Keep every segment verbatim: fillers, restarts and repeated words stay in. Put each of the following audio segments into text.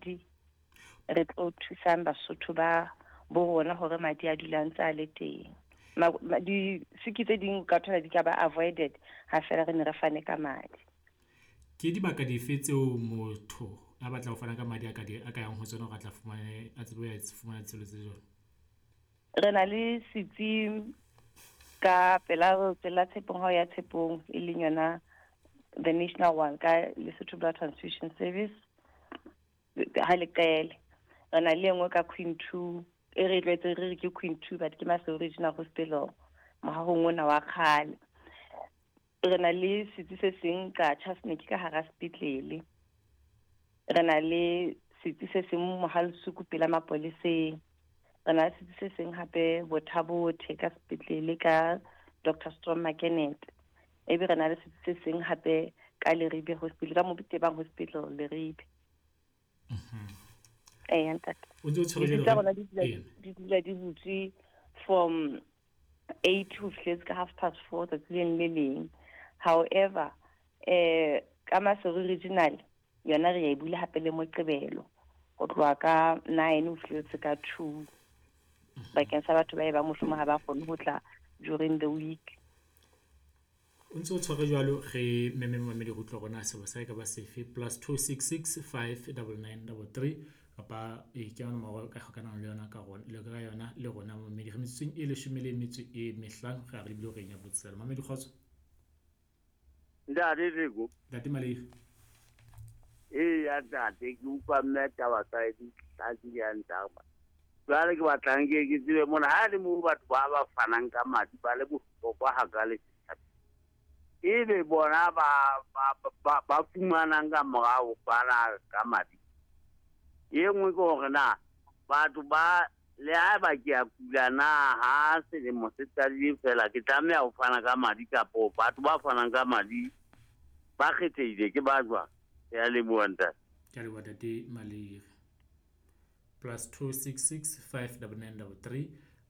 madi, re tlo thusang Basotho ba bo rona hore madi a dula ntse a le teng. Disiki tse ding ka thola di ka ba avoided ha fela re ne re fane ka madi. Ke dibaka dife tseo motho a batla ho fana ka madi a ka di a ka yang ho tsona hore a tla fumane a tsebe ho fumana tshebeletso tse jwalo? Re na le setsi ka pela tsela Tshepong, ha o ya Tshepong, e leng yona the national one ka Lesotho Blood Transfusion Service ha leqele. Re na le e nngwe ka Queen two, e re tlwaetse re re ke Queen two, but ke Maseru Regional Hospital, mohahong ona wa kgale. Re na le setsi se seng ka Chasniki ka hara sepetlele. Re na le setsi se seng Mohalesuku pela mapoleseng. Re na le setsi se seng hape Botha-Bothe ka sepetlele ka Doctor Strom Makenete. Ebe re na le setsi se seng hape ka Leribe Hospital, ka Mobitebang Hospital Leribe. Eh, ntate. O ntse o tshwere Ditsi jwalo tsa re- rona di dula Ee. di dula di butswe from eight ho fihletse ka half past four tsatsi le leng le leng. However, eh ka Maseru Regional yona re ya e bula hape le Moqebelo ho tloha ka nine ho fihletse ka two, bakeng sa batho ba e bang mohlomong ha ba kgone ho tla during the week. O ntse o tshwere jwalo, re meme momamedi ho utlwa rona sebo sa e ka ba sefe. Plus two six six five double nine double three kapa e ke yona nomoro ka hokanang le yona ka rona le ka yona le rona momamedi. Re metsotsong e leshome le metso e mehlano, re a re lebile horeng ya botshelela. Mamedi, kgotso. Ntate Teko. Ntate Malehi. Eya ntate, ke utlwa mme taba tsa hae di hlakile hantle. Jwale ke batlang ke ke tsebe mona ha le moo batho ba ba fanang ka madi ba le bohlokwa hakale setjhabeng, ebe bona ba ba ba ba fumanang ka morao fana ka madi. E nngwe ke hore na batho ba le haeba ke a kula na ha selemo se qadile fela ke tlameha ho fana ka madi, kapo batho ba fanang ka madi ba kgethehile ke ba jwang? Ke a leboha ntate. Ke a leboha ntate Malehi. Plus two six six five double nine double three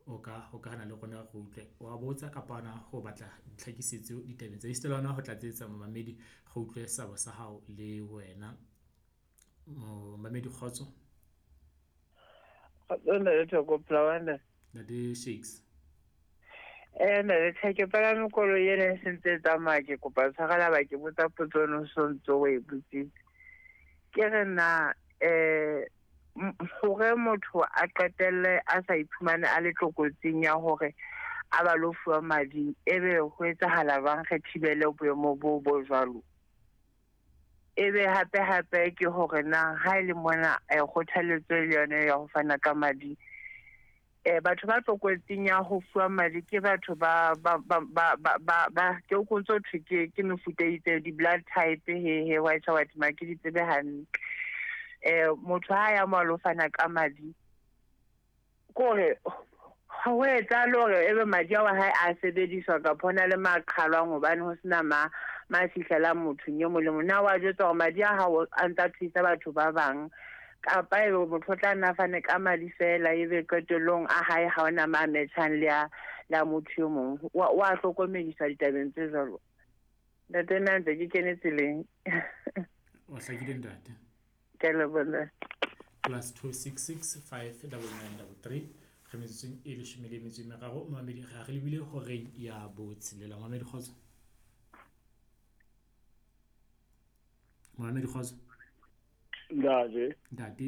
o ka hokahana le rona re utlwe wa botsa kapa hona ho batla ditlhakisetso ditabeng tsa esita le hona ho tlatsetsa momamedi, re utlwe sabo sa hao le wena. Momamedi, kgotso. Kgotso ntate Thoko, Polawana. Ntate Shakes. Eh ntate Theko, ke palame koloi ena e sentse e tsamaya, ke kopa tshwarela ba ke botsa potso eno so ntso o e botsitse. Ke re na eh hore motho a qetelle a sa iphumane a le tlokotsing ya hore a ba lo fuwa madi, ebe ho etsahala jwang re thibele boemo bo bo jwalo? Ebe hape hape ke hore na ha e le mona eh, kgothaletso le yona ya ho fana ka madi, eh batho ba tlokotsing ya ho fuwa madi ke batho ba ba ba ba ba ba, ba ke o ntso thwe ke ke mefuta e itseng, di-blood type, he he white white ma ke di tsebe hantle. Eh motho ha ya mo a lo fana ka madi, kore ho etsahale hore ebe madi ao a hae a sebediswa kapa ho na le maqhalwang hobane ho sena ma ma fihlelang mothong e mong le mong. Na wa jwetsa hore madi a hao a ntsa thusa batho ba bang, kapa ebe motho o tla nna fane ka madi fela ebe qetellong a hae ha hona ma metjhang le a le a motho e mong? Wa wa hlokomediswa ditabeng tse jwalo? Ntate, nna ntse ke kene tseleng. O hlakile ntate. Ke a leboha. Plus two six six five double nine double three, re metsotsong e leshome le metso e meraro momamedi, re re lebile horeng ya botshelela. Momamedi, kgotso. Momamedi, kgotso. Ntate. Ntate.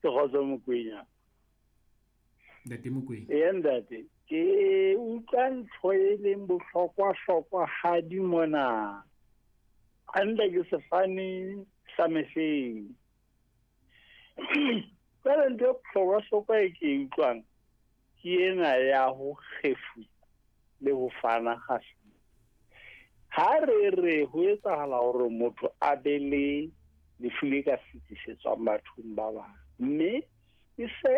Ke kgotso Mokwena. Ntate Mokwena. Ee ntate, ke utlwa ntho e leng bohlokwa-hlokwa hadi mona. Hantle ke sefane sa mehleng. Jwale ntho e bohlokwa-hlokwa e ke e utlwang ke ena ya ho kgefutsa le ho fana kgafetsa. Ha re re ho etsahala hore motho a be le lefu le ka fetisetswang bathong ba bang, mme e se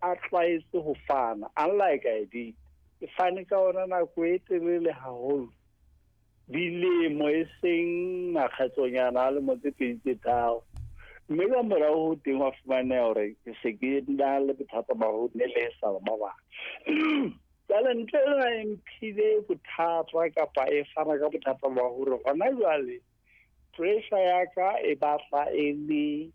a tlwaetse ho fana, unlike I did, ke fane ka ona nako e telele haholo, dilemo e seng makgetlonyana a lemo tse pedi tse tharo, mme ka morao ho teng wa fumaneha hore ke se ke na le bothata ba ho nelesa ba bang. Jwale ntho ena e mphile bothata kapa e fana ka bothata ba hore hona jwale pressure ya ka e batla e le